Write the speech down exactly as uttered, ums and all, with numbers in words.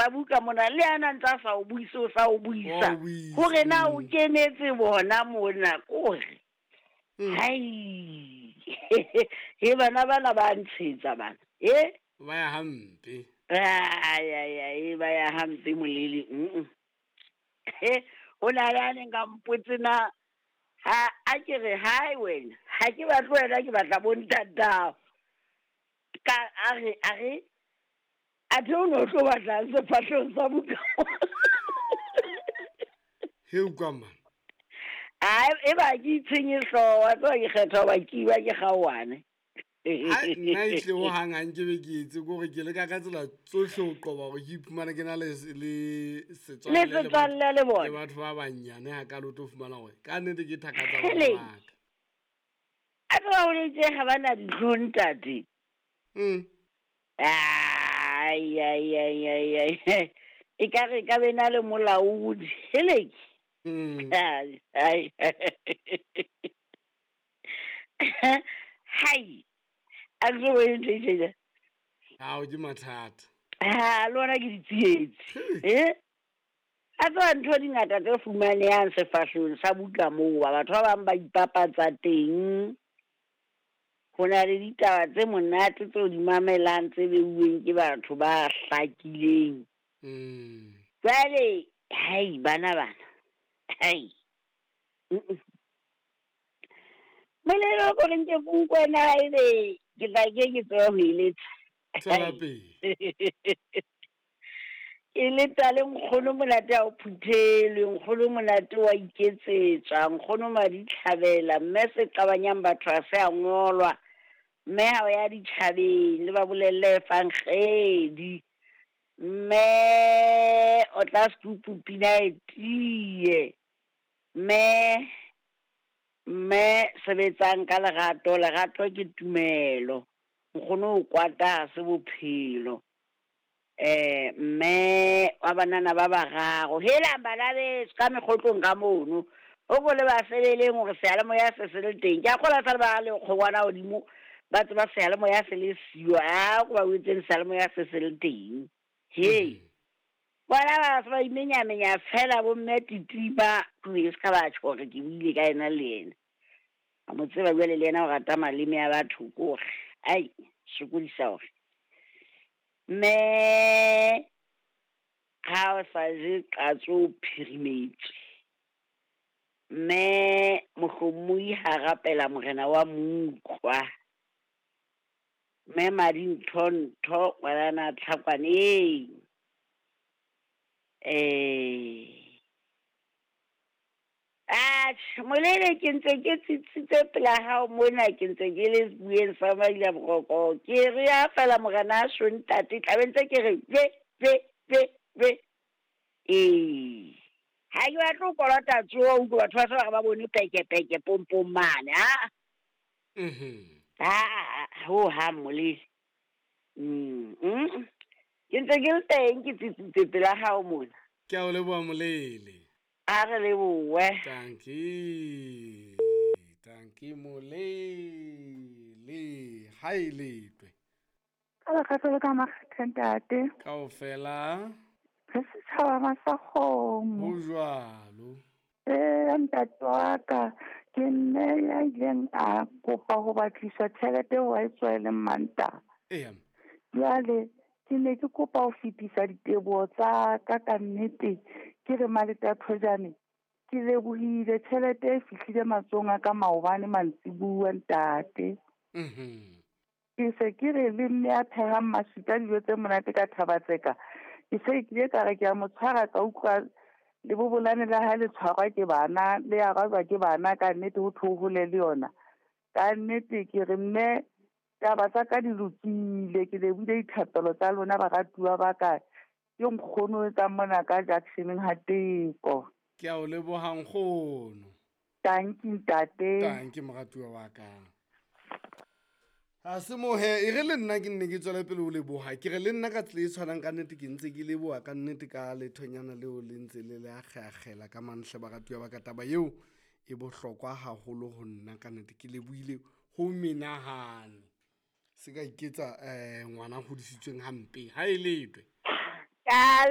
sa buka mona le ana ntse a sa o buise o sa o buisa Wa o buisa, hore na o mm. kenetse bona mona kore Mm. hai he bana bana ba ntshetsa bana e Ba ya hampe. ai ai ai ba ya hampe molele mm he o na le a neng ka mpotse na ha a ke re hai wena ha ke batle wena ke batla bo ntatao ka a re a re athe o ne o tlo batlang sefahlehong sa buka He utlwa man. Ai e ba ke itshenye hlooho wa tseba ke kgetha hoba ke iwa ke kgaohane Ai nna ehlile hohang ha nkebe ke etse ke hore ke leka ka tsela tsohle ho qoba hore ke iphumane ke na le le setswalle le le batho setswalle le le bona batho ba banyane hakalo o tlo fumana hore ka nnete ke thaka tsa bana Hele. ba ka. a tseba ho letse ga ba na ditlhong ntate Mm. ai ai ai ai ai e ka re ka be na le molaodi heleke Mm. ai ai hai a ke so bone ntho e tjena Ao ke mathata. ha le ona ke ditsietsi e a tseba ntho di ngata tse fumanehang sefahlehong sa buka moo ba batho ba bang ba ipapatsa teng ho na le ditaba tse monate tseo di mamelang tse beuweng ke batho ba hlakileng Mm. jwale hai bana bana hai Mm-mm. Molelo ko re nke ke utlwe na ebe ke tla ke ke tsebe ho e letsa Tswela pele. ke leta le nkgono monate ha o phuthelwe nkgono monate wa iketsetswa nkgono maditlhabela mme se qabanyang batho ha se a ngolwa mme ha o ya ditjhabeng le ba bolelle efankgedi mme o tla sekupu pina e tiye mme mme sebetsang ka lerato lerato ke tumelo nkgono o kwata ha se bophelo eh mme wa banana ba bararo helang bana beso ka mekgotlong ka mono o ko le ba sebeleng hore seyalemoya se se le teng ke a kgola sa le ba le kgongwana hodimo ba tseba seyalemoya se le siyo a ko ba wetseng seyalemoya se se le teng hei bona ba se ba imenyamenya fela bo mme titima ke se ka ba tjho hore ke buile ka yena le yena a mo tseba jwale le yena o rata maleme a batho ko hore ai sokodisa hore mme ha o sa je qatso o phirimetswe mme mohlomong ha rapela morena wa moutlwa mme madintho-ntho ngwanana Tlhakwaneng eh atjhe molele ke ntse ke tsitsitse pela hao mona ke ntse ke le sebueng sa Maila Boroko ke re ya fela morena a sho ntate tla be ntse ke re be be be be ee ha ke batle ho kolota tsoho utlwe batho ba se ba re ba bone peke peke pompong mane ha Mhm. ha ho hang molele mm mm. ke ntse ke le teng ke tsitsitse pela hao mona Ke a o leboha molele. a re lebohe Dankie. Dankie molele. Ha e letwe. Ka lerato le ka makgethe ntate. Kaofela Re setjhaba Masakgomo. ho jwalo. Ee, ntate wa ka ke mme ya ileng a kopa ho batliswa tjhelete eo a e tswaeleng Mantaha. Eya. Jwale ke ne ke kopa ho fetisa diteboho tsa ka ka nnete ke re Maleta Thojane ke lebohile tjhelete e fihlile matsohong a ka maobane mantsibuya ntate. Mhm. Ke se ke re le mme a phehang maswika dijo tse monate ka Thabatseka. Ke se ke ile ka re ke a mo tshwara ka utlwa le bobolane la hae le tshwarwa ke bana le arajwa ke bana ka nnete ho thwe o hole le yona. Ka nnete ke re mme taba tsa ka di lokile ke lebohile dithapelo tsa lona baratuwa ba ka. Ke nkgono o etsang mona ka junction-eng ha Teko. Ke a o leboha nkgono. Tanki ntate. Tanki moratuwa wa ka. Ha se mohe e re le nna ke nne ke tswele pele ho leboha ke re le nna ka tsela e tshwanang ka nnete ke ntse ke leboha ka nnete ka lethonyana leo le ntse le le akgeakgela ka manhle baratuwa ba ka taba eo e bohlokwa haholo ho nna ka nnete ke lebohile ho menahane se ka iketsa eh ngwana a hodisitsweng hampe ha e letwe ka